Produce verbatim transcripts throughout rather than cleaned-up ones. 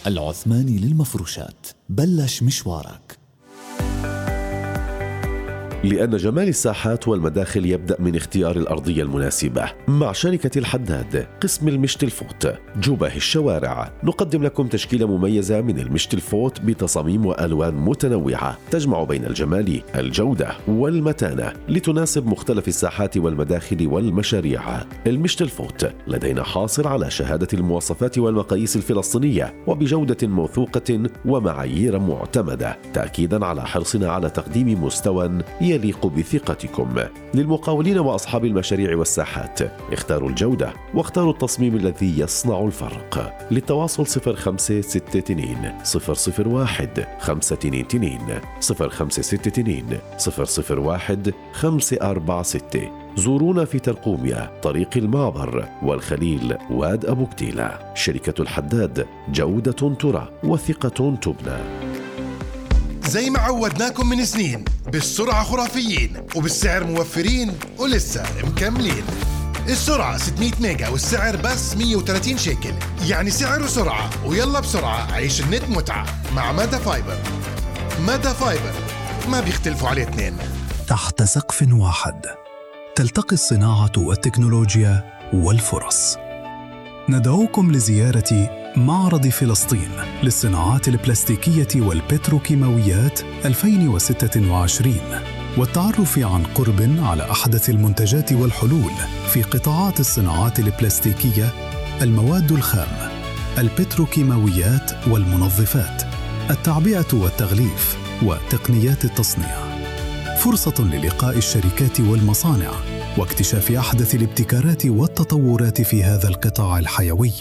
العثماني للمفروشات، بلش مشوارك. لأن جمال الساحات والمداخل يبدأ من اختيار الأرضية المناسبة. مع شركة الحداد قسم المشت الفوت جباه الشوارع نقدم لكم تشكيلة مميزة من المشت الفوت بتصاميم وألوان متنوعة تجمع بين الجمال، الجودة والمتانة لتناسب مختلف الساحات والمداخل والمشاريع. المشت الفوت لدينا حاصل على شهادة المواصفات والمقاييس الفلسطينية وبجودة موثوقة ومعايير معتمدة، تأكيدا على حرصنا على تقديم مستوى يليق بثقتكم. للمقاولين وأصحاب المشاريع والساحات اختاروا الجودة واختاروا التصميم الذي يصنع الفرق. للتواصل صفر خمسة ستة اثنين صفر صفر واحد خمسة اثنين اثنين صفر خمسة ستة اثنين صفر صفر واحد خمسة أربعة ستة. زورونا في ترقوميا طريق المعبر والخليل واد أبو كتيلة. شركة الحداد، جودة ترى وثقة تبنى. زي ما عودناكم من سنين، بالسرعة خرافيين وبالسعر موفرين ولسه مكملين. السرعة ستمية ميجا والسعر بس مية وثلاثين شيكل، يعني سعر وسرعة. ويلا بسرعة عيش النت متعة مع مادا فايبر. مادا فايبر ما بيختلفوا عليه اثنين. تحت سقف واحد تلتقي الصناعة والتكنولوجيا والفرص. ندعوكم لزيارة معرض فلسطين للصناعات البلاستيكية والبتروكيماويات ألفين وستة وعشرين والتعرف عن قرب على أحدث المنتجات والحلول في قطاعات الصناعات البلاستيكية، المواد الخام، البتروكيماويات والمنظفات، التعبئة والتغليف وتقنيات التصنيع. فرصة للقاء الشركات والمصانع واكتشاف أحدث الابتكارات والتطورات في هذا القطاع الحيوي.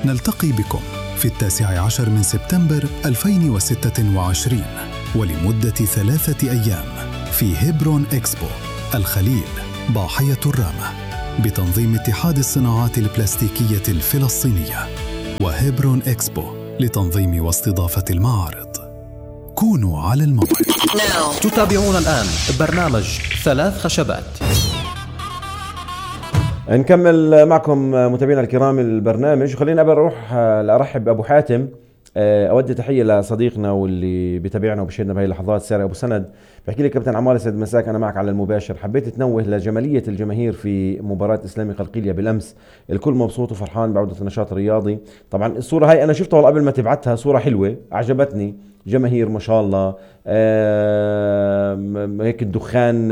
نلتقي بكم في التاسع عشر من سبتمبر ألفين وستة وعشرين ولمدة ثلاثة أيام في هيبرون إكسبو الخليل ضاحية الرامة بتنظيم اتحاد الصناعات البلاستيكية الفلسطينية وهيبرون إكسبو لتنظيم واستضافة المعارض. كونوا على الموعد. تتابعون الآن برنامج ثلاث خشبات. نكمل معكم متابعينا الكرام البرنامج. خلينا قبل اروح لارحب بابو حاتم، اودي تحيه لصديقنا واللي بيتابعنا وبشهدنا بهي اللحظات ساري ابو سند. بحكي لك كابتن عمار يسعد مساك، انا معك على المباشر. حبيت تنوه لجماليه الجماهير في مباراه اسلامي قلقيليه بالامس، الكل مبسوط وفرحان بعوده النشاط الرياضي. طبعا الصوره هاي انا شفتها قبل ما تبعتها، صوره حلوه عجبتني، جماهير ما شاء الله، هيك الدخان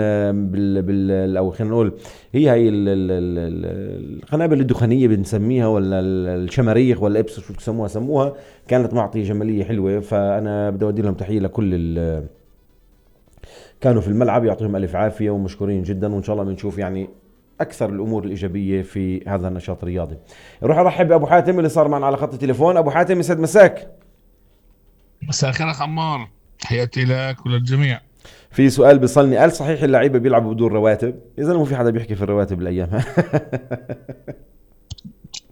بال بال او خلينا نقول هي هي القنابل الدخانيه بنسميها ولا الشماريخ ولا ابس شو بسموها سموها، كانت معطي جماليه حلوه. فانا بدي اودي لهم تحيه لكل كانوا في الملعب، يعطيهم الف عافيه ومشكورين جدا، وان شاء الله بنشوف يعني اكثر الامور الايجابيه في هذا النشاط الرياضي. نروح ارحب بابو حاتم اللي صار معنا على خط التليفون. ابو حاتم يسعد مساك. مساء الخير اخ عمار، تحياتي لك وللجميع. في سؤال بيصلني، قال صحيح اللعيبه بيلعبوا بدون رواتب؟ اذا مو في حدا بيحكي في الرواتب الايام.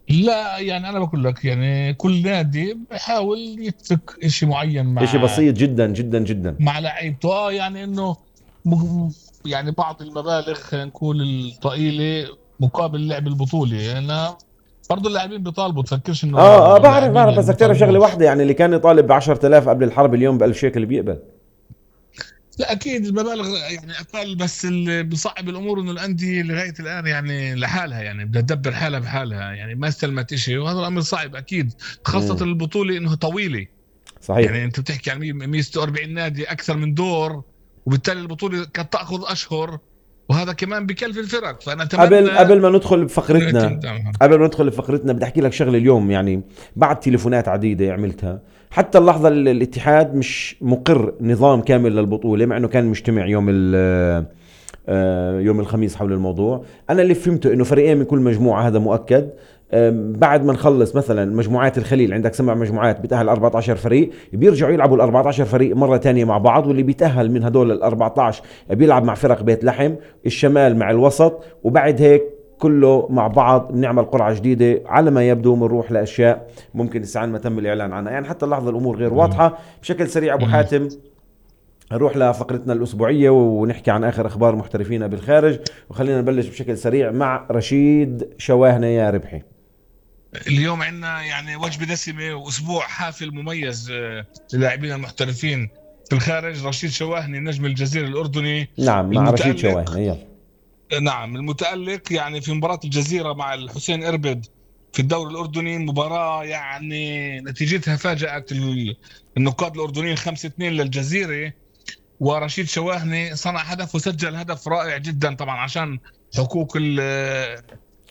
لا يعني انا بقول لك يعني كل نادي بيحاول يترك شيء معين مع شيء بسيط جدا جدا جدا مع لعيبته، اه يعني انه يعني بعض المبالغ خلينا نقول الطائله مقابل لعب البطوله. انا برضو اللاعبين بيطالبوا، تفكرش انه اه اه بعرف بعرف بس تعرف شغله واحده، يعني اللي كان يطالب ب عشرة آلاف قبل الحرب اليوم ب ألف شيكل بيقبل. لا اكيد المبالغ يعني اقل، بس اللي بيصعب الامور انه الانديه لغايه الان يعني لحالها، يعني بدها تدبر حالها بحالها، يعني ما استلمت شيء، وهذا الامر صعب اكيد، خاصه مم. البطوله انه طويله. صحيح، يعني انت بتحكي عن مية وأربعين نادي اكثر من دور، وبالتالي البطوله كانت تاخذ اشهر، وهذا كمان بكلف الفرق. فانا اتمنى قبل قبل ما ندخل بفقرتنا قبل ما ندخل بفقرتنا بدي احكي لك شغله اليوم، يعني بعد تليفونات عديده عملتها حتى اللحظه الاتحاد مش مقر نظام كامل للبطوله، مع انه كان مجتمع يوم يوم الخميس حول الموضوع. انا اللي فهمته انه فريقين من كل مجموعه، هذا مؤكد. بعد ما نخلص مثلا مجموعات الخليل، عندك سبع مجموعات بيتأهل أربعة عشر فريق، بيرجعوا يلعبوا ال أربعة عشر فريق مرة تانية مع بعض، واللي بيتأهل من هدول ال أربعة عشر بيلعب مع فرق بيت لحم، الشمال مع الوسط، وبعد هيك كله مع بعض بنعمل قرعة جديدة. على ما يبدو بنروح لأشياء ممكن لسه ما تم الإعلان عنها، يعني حتى اللحظة الأمور غير واضحة. بشكل سريع أبو حاتم نروح لفقرتنا الأسبوعية ونحكي عن آخر أخبار محترفين بالخارج، وخلينا نبلش بشكل سريع مع رشيد شواهنة. يا ربحي. اليوم عندنا يعني وجبة دسمة وأسبوع حافل مميز آه، للاعبين المحترفين في الخارج. رشيد شواهني نجم الجزيرة الأردني. نعم مع رشيد المتألق- شواهني. يلا نعم المتألق يعني في مباراة الجزيرة مع الحسين إربد في الدوري الأردني، مباراة يعني نتيجتها فاجأت ال- النقاد الأردنيين خمسة اثنين للجزيرة. ورشيد شواهني صنع هدف وسجل هدف رائع جدا، طبعا عشان حقوق ال-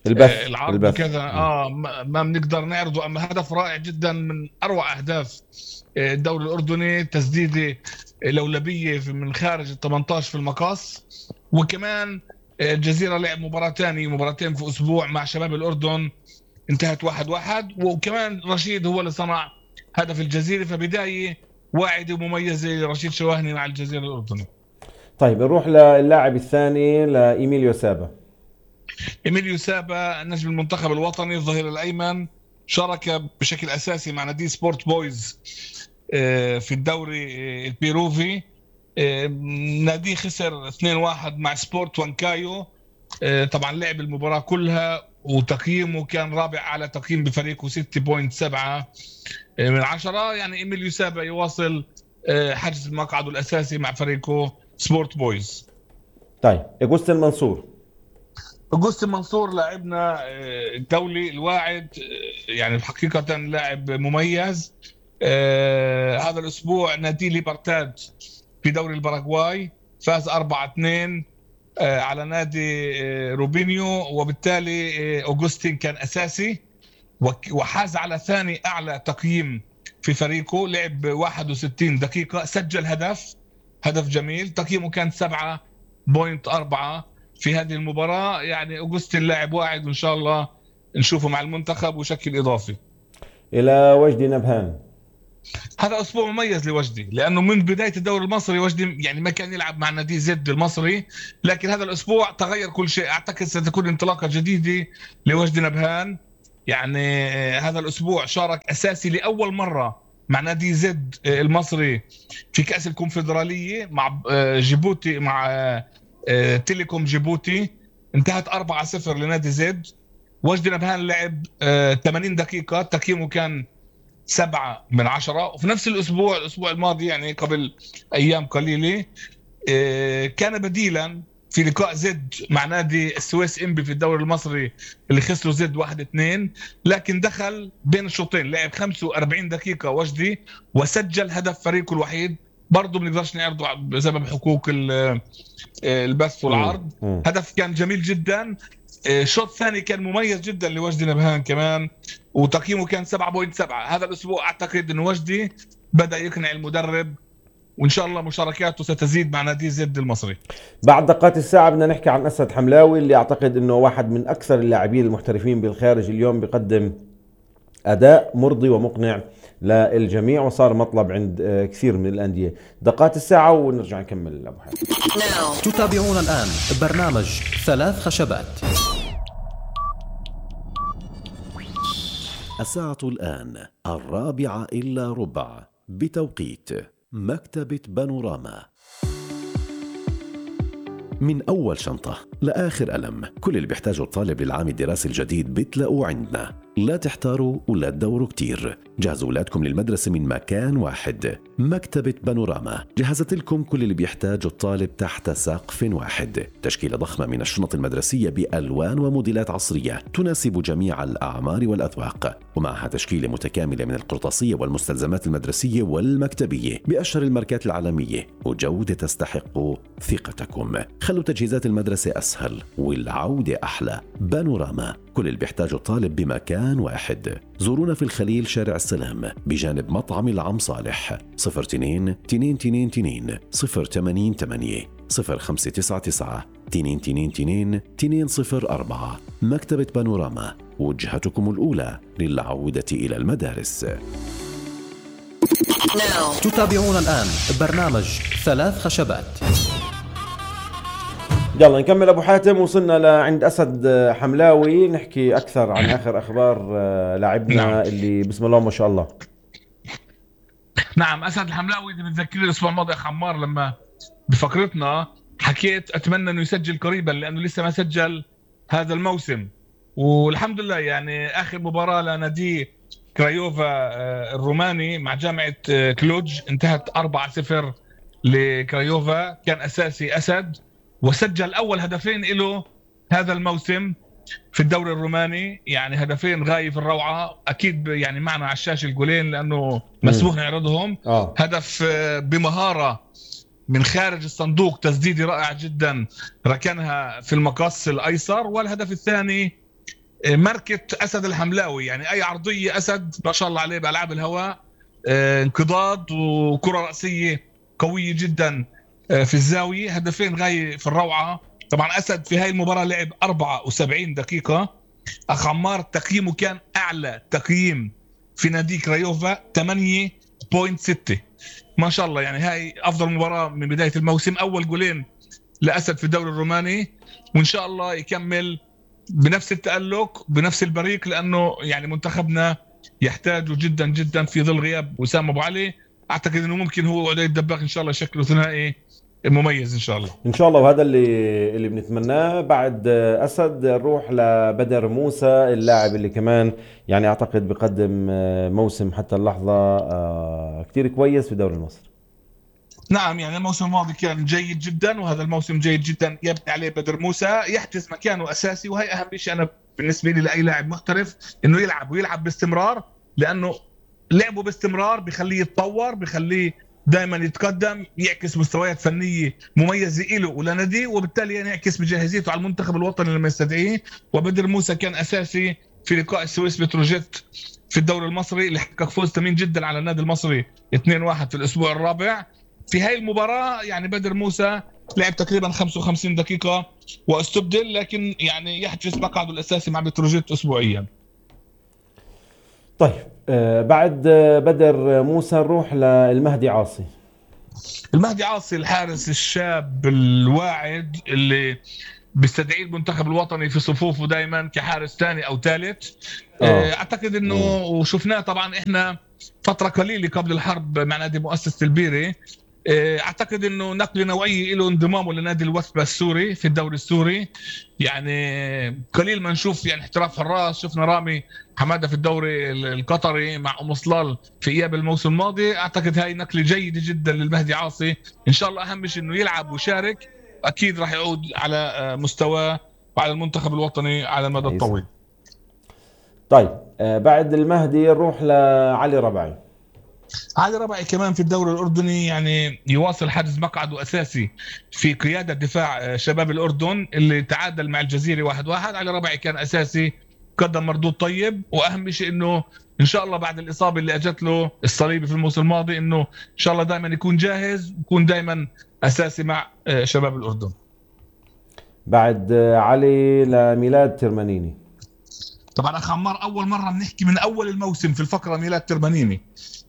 البث آه، العرض البث. وكذا اه ما ما بنقدر نعرضه، اما هدف رائع جدا من اروع اهداف آه، الدوري الاردني. تسديده لولبيه في- من خارج ال ثمانية عشر في المقاص. وكمان آه، الجزيره لعب مباراه ثانيه مباراتين في اسبوع مع شباب الاردن، انتهت واحد واحد. وكمان رشيد هو اللي صنع هدف الجزيره، فبدايه واعده ومميزه لرشيد شواهني مع الجزيره الاردني. طيب نروح للاعب الثاني لإيميليو سابا. إيميليو سابا نجم المنتخب الوطني الظهير الأيمن، شارك بشكل أساسي مع نادي سبورت بويز آه، في الدوري آه، البيروفي. آه، نادي خسر اثنين واحد مع سبورت وانكايو. آه، طبعا لعب المباراة كلها وتقييمه كان رابع على تقييم بفريقه ستة فاصلة سبعة من عشرة. يعني إيميليو سابا يواصل آه، حجز مقعده الأساسي مع فريقه سبورت بويز. طيب أغوستين منصور. أغوستين منصور لاعبنا آه، الدولي الواعد، آه، يعني حقيقة لاعب مميز. آه، هذا الأسبوع نادي ليبرتاد في دوري الباراغواي فاز أربعة اثنين آه، على نادي آه، روبينيو، وبالتالي آه، أغوستين كان أساسي وك- وحاز على ثاني أعلى تقييم في فريقه. لعب واحد وستين دقيقة، سجل هدف هدف جميل، تقييمه كان سبعة فاصلة أربعة في هذه المباراة. يعني أغوستين لاعب واعد، وإن شاء الله نشوفه مع المنتخب وشكل إضافي. إلى وجدي نبهان. هذا أسبوع مميز لوجدي، لأنه من بداية الدوري المصري وجدي يعني ما كان يلعب مع نادي زد المصري، لكن هذا الأسبوع تغير كل شيء. أعتقد ستكون انطلاقة جديدة لوجدي نبهان. يعني آه، هذا الأسبوع شارك أساسي لأول مرة مع نادي زد آه، المصري في كأس الكونفدرالية مع آه، جيبوتي مع آه، آه، تيليكوم جيبوتي. انتهت أربعة صفر لنادي زد. وجدي نبهان لعب آه، ثمانين دقيقة، تقييمه كان سبعة من عشرة. وفي نفس الأسبوع الأسبوع الماضي يعني قبل أيام قليلة آه، كان بديلا في لقاء زد مع نادي السويس إنبي في الدوري المصري اللي خسروا زد واحد اثنين، لكن دخل بين الشوطين لعب خمسة وأربعين دقيقة وجدي وسجل هدف فريقه الوحيد. برضه بنقدرش نعرضه بسبب حقوق ال- البث والعرض. مم. هدف كان جميل جدا. آه، شوط ثاني كان مميز جدا لوجدي نبهان كمان، وتقييمه كان سبعة فاصلة سبعة. هذا الأسبوع أعتقد أن وجدي بدأ يقنع المدرب، وإن شاء الله مشاركاته ستزيد مع نادي زد المصري. بعد دقات الساعة بدنا نحكي عن أسد حملاوي، اللي أعتقد أنه واحد من أكثر اللاعبين المحترفين بالخارج اليوم، بيقدم أداء مرضي ومقنع للجميع وصار مطلب عند آه، كثير من الأندية. دقات الساعة ونرجع نكمل أبو حاتم. تتابعون الآن برنامج ثلاث خشبات. الساعة الآن الرابعة إلا ربع بتوقيت مكتبة بانوراما. من أول شنطة لآخر قلم، كل اللي بيحتاجه الطالب للعام الدراسي الجديد بتلاقوه عندنا. لا تحتاروا ولا تدوروا كتير، جهزوا أولادكم للمدرسة من مكان واحد. مكتبة بانوراما جهزت لكم كل اللي بيحتاجه الطالب تحت سقف واحد. تشكيلة ضخمة من الشنط المدرسية بألوان وموديلات عصرية تناسب جميع الأعمار والأذواق، ومعها تشكيلة متكاملة من القرطاسية والمستلزمات المدرسية والمكتبية بأشهر الماركات العالمية، وجودة تستحق ثقتكم. خلوا تجهيزات المدرسة أسهل والعودة أحلى. بانوراما، كل اللي بيحتاجه الطالب بمكان واحد. زورونا في الخليل شارع السلام بجانب مطعم العم صالح. صفر اثنين اثنين اثنين اثنين صفر ثمانية ثمانية صفر خمسة تسعة تسعة اثنين اثنين اثنين اثنين صفر أربعة. مكتبة بانوراما، وجهتكم الأولى للعودة إلى المدارس. تتابعون الآن برنامج ثلاث خشبات. يلا نكمل أبو حاتم. وصلنا لعند أسد حملاوي، نحكي أكثر عن آخر أخبار آه، لاعبنا نعم. اللي بسم الله ما شاء الله. نعم، أسد الحملاوي اللي بتذكرني الأسبوع الماضي يا خمار لما بفقرتنا حكيت أتمنى أنه يسجل قريبا، لأنه لسه ما سجل هذا الموسم. والحمد لله يعني اخر مباراه لنادي كرايوفا الروماني مع جامعه كلوج انتهت أربعة صفر لكرايوفا. كان اساسي اسد وسجل اول هدفين له هذا الموسم في الدوري الروماني، يعني هدفين غاية في الروعة. أكيد يعني معنا على الشاشة الجولين لأنه مسموح نعرضهم. آه. هدف بمهارة من خارج الصندوق، تسديدة رائعة جدا ركنها في المقص الأيسر. والهدف الثاني ماركة أسد الحملاوي، يعني أي عرضية أسد ما شاء الله عليه بألعاب الهواء، انقضاض وكرة رأسية قوية جدا في الزاوية. هدفين غاية في الروعة. طبعا أسد في هاي المباراة لعب أربعة وسبعين دقيقة. أخ عمار تقييمه كان أعلى تقييم في نادي كرايوفا ثمانية فاصلة ستة، ما شاء الله. يعني هاي أفضل مباراة من بداية الموسم. أول جولين لأسد في الدوري الروماني، وإن شاء الله يكمل بنفس التألق بنفس البريق، لأنه يعني منتخبنا يحتاجه جدا جدا في ظل غياب وسام أبو علي. أعتقد أنه ممكن هو وعلي الدباغ إن شاء الله شكله ثنائي مميز إن شاء الله. ان شاء الله، وهذا اللي اللي بنتمناه. بعد اسد نروح لبدر موسى، اللاعب اللي كمان يعني اعتقد بقدم موسم حتى اللحظه كتير كويس في الدوري المصري. نعم، يعني الموسم الماضي كان جيد جدا، وهذا الموسم جيد جدا يبني عليه بدر موسى، يحجز مكانه اساسي. وهي اهم شيء انا بالنسبه لي لاي لاعب محترف، انه يلعب ويلعب باستمرار، لانه لعبه باستمرار بخليه يتطور، بخليه دائما يتقدم، يعكس مستويات فنيه مميزه له ولناديه، وبالتالي ينعكس بجاهزيته على المنتخب الوطني لما يستدعيه. وبدر موسى كان اساسي في لقاء السويس بتروجيت في الدوري المصري اللي حقق فوز ثمين جدا على النادي المصري اثنين واحد في الاسبوع الرابع. في هاي المباراه يعني بدر موسى لعب تقريبا خمسة وخمسين دقيقه واستبدل، لكن يعني يحجز مقعده الاساسي مع بتروجيت اسبوعيا. طيب آه بعد بدر موسى نروح للمهدي عاصي. المهدي عاصي الحارس الشاب الواعد اللي بيستدعي المنتخب الوطني في صفوفه دائما كحارس ثاني او ثالث. آه. اعتقد انه م. وشفناه طبعا احنا فتره قليله قبل الحرب مع نادي مؤسسه البيري. اعتقد انه نقل نوعيه له انضمامه لنادي الوثبه السوري في الدوري السوري. يعني قليل ما نشوف يعني احتراف حراس. شفنا رامي حماده في الدوري القطري مع ام صلال في اياب الموسم الماضي. اعتقد هاي نقله جيده جدا للمهدي عاصي. ان شاء الله اهم شيء انه يلعب ويشارك، اكيد راح يعود على مستواه وعلى المنتخب الوطني على المدى الطويل. طيب بعد المهدي نروح لعلي ربعي. علي ربعي كمان في الدوري الأردني يعني يواصل حجز مقعده أساسي في قيادة دفاع شباب الأردن اللي تعادل مع الجزيرة واحد واحد. علي ربعي كان أساسي، قدم مردود طيب، وأهم شيء إنه إن شاء الله بعد الإصابة اللي أجت له الصليبي في الموسم الماضي إنه إن شاء الله دائما يكون جاهز، يكون دائما أساسي مع شباب الأردن. بعد علي لميلاد ترمانيني. طبعا أخ عمار أول مرة بنحكي من أول الموسم في الفقرة ميلاد ترمانيني.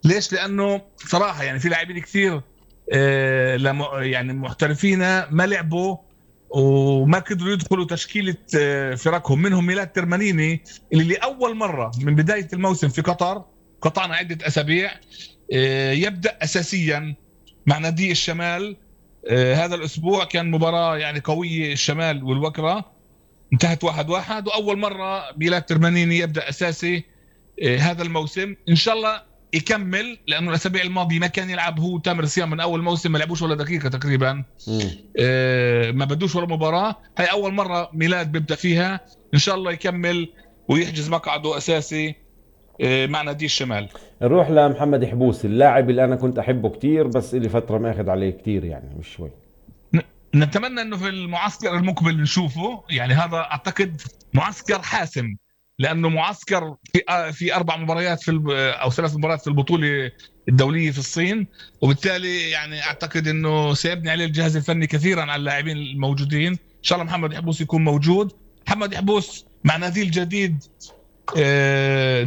ليش؟ لأنه صراحة يعني في لاعبين كثير آه يعني محترفين ما لعبوا وما قدروا يدخلوا تشكيلة آه فرقهم، منهم ميلاد ترمانيني اللي لأول مرة من بداية الموسم في قطر، قطعنا عدة أسابيع، آه يبدأ أساسيا مع نادي الشمال. آه هذا الأسبوع كان مباراة يعني قوية، الشمال والوكرة، انتهت واحد واحد. وأول مرة ميلاد ترمانيني يبدأ أساسي آه هذا الموسم. إن شاء الله يكمل، لانه الاسابيع الماضيه ما كان يلعب هو تامر صيام من اول موسم، ما لعبوش ولا دقيقه تقريبا. آه ما بدوش ولا مباراه. هاي اول مره ميلاد بيبدا فيها. ان شاء الله يكمل ويحجز مقعده اساسي آه مع نادي الشمال. نروح لمحمد حبوس، اللاعب اللي انا كنت احبه كتير بس اللي فتره ما اخذ عليه كتير يعني مش شوي. نتمنى انه في المعسكر المقبل نشوفه، يعني هذا اعتقد معسكر حاسم، لانه معسكر في في اربع مباريات في او ثلاث مباريات في البطوله الدوليه في الصين، وبالتالي يعني اعتقد انه سيبني عليه الجهاز الفني كثيرا على اللاعبين الموجودين. ان شاء الله محمد حبوس يكون موجود. محمد حبوس مع نادي الجديد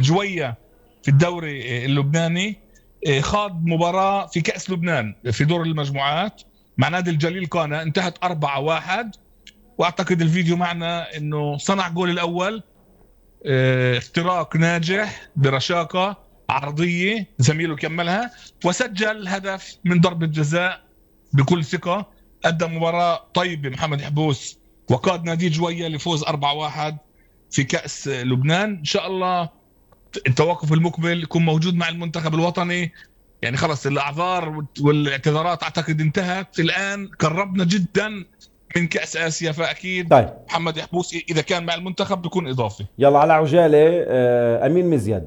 جويه في الدوري اللبناني، خاض مباراه في كاس لبنان في دور المجموعات مع نادي الجليل قانا، انتهت أربعة واحد. واعتقد الفيديو معنا انه صنع جول الاول، اختراق ناجح برشاقة عرضية، زميله كملها وسجل هدف من ضربة جزاء بكل ثقة. قدم مباراة طيبة محمد حبوس وقاد نادي جوية لفوز أربعة واحد في كأس لبنان. إن شاء الله التوقف المقبل يكون موجود مع المنتخب الوطني. يعني خلص الأعذار والاعتذارات أعتقد انتهت، الآن قربنا جدا من كأس آسيا، فأكيد طيب. محمد يحبوس إذا كان مع المنتخب بيكون إضافي. يلا على عجالة، آه، أمين مزيد.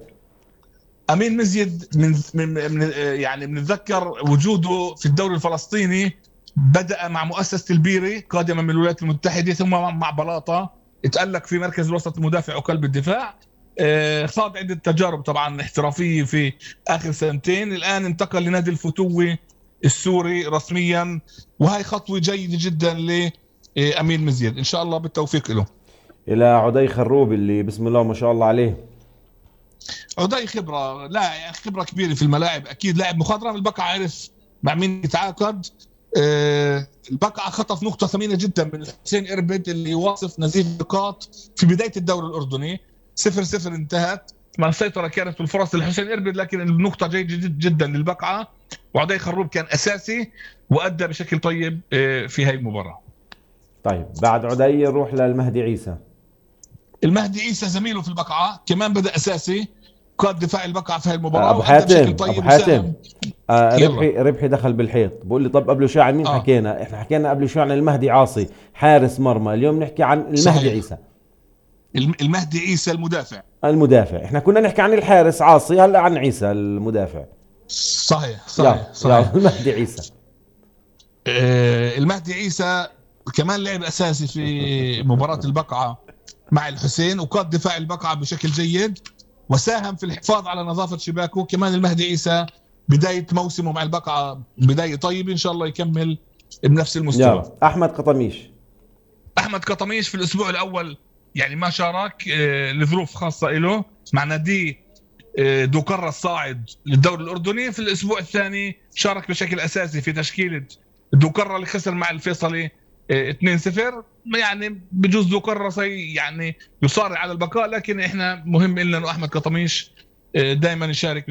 أمين مزيد من, من, من يعني بنتذكر وجوده في الدوري الفلسطيني، بدأ مع مؤسسة البيري قادما من الولايات المتحدة، ثم مع بلاطة اتألق في مركز الوسط المدافع وقلب الدفاع. آه، خاض عدة تجارب طبعا احترافية في آخر سنتين، الآن انتقل لنادي الفتوة السوري رسميا، وهي خطوة جيدة جدا لأمين مزيد. إن شاء الله بالتوفيق له. إلى عدي خروب اللي بسم الله ما شاء الله عليه. عدي خبرة، لا يعني خبرة كبيرة في الملاعب، أكيد لاعب مخضرم. البقعة عرف مع مين يتعاقد. أه البقعة خطف نقطة ثمينة جدا من حسين إربد اللي يواصف نزيف نقاط في بداية الدوري الأردني. صفر صفر انتهت، مع السيطرة كانت الفرص لحسين إربد، لكن النقطة جيدة جدا للبقعة، وعدي خروب كان أساسي وأدى بشكل طيب في هاي المباراة. طيب بعد عدي نروح للمهدي عيسى. المهدي عيسى زميله في البقعة كمان بدأ أساسي، قاد دفاع البقعة في هاي المباراة. أبو حاتم أبو حاتم آه ربحي ربحي دخل بالحيط، بقول لي طب قبل شوي عن مين آه. حكينا؟ احنا حكينا قبل شوي عن المهدي عاصي حارس مرمى، اليوم نحكي عن المهدي صحيح. عيسى المهدي عيسى المدافع المدافع احنا كنا نحكي عن الحارس عاصي، هلا عن عيسى المدافع. صحيح صحيح, يا صحيح. يا المهدي عيسى آه المهدي عيسى كمان لعب أساسي في مباراة البقعة مع الحسين، وقاد دفاع البقعة بشكل جيد، وساهم في الحفاظ على نظافة شباكه. كمان المهدي عيسى بداية موسمه مع البقعة بداية طيبة، إن شاء الله يكمل بنفس المستوى. يلا. أحمد قطميش. أحمد قطميش في الأسبوع الأول يعني ما شارك آه لظروف خاصة له مع نادي آه دوكرة الصاعد للدوري الأردني. في الأسبوع الثاني شارك بشكل أساسي في تشكيلة دوكرة اللي خسر مع الفيصلي آه اثنين صفر. يعني بجوز دوكرة يعني يصارع على البقاء، لكن إحنا مهم لنا إنه أحمد قطميش آه دائما يشارك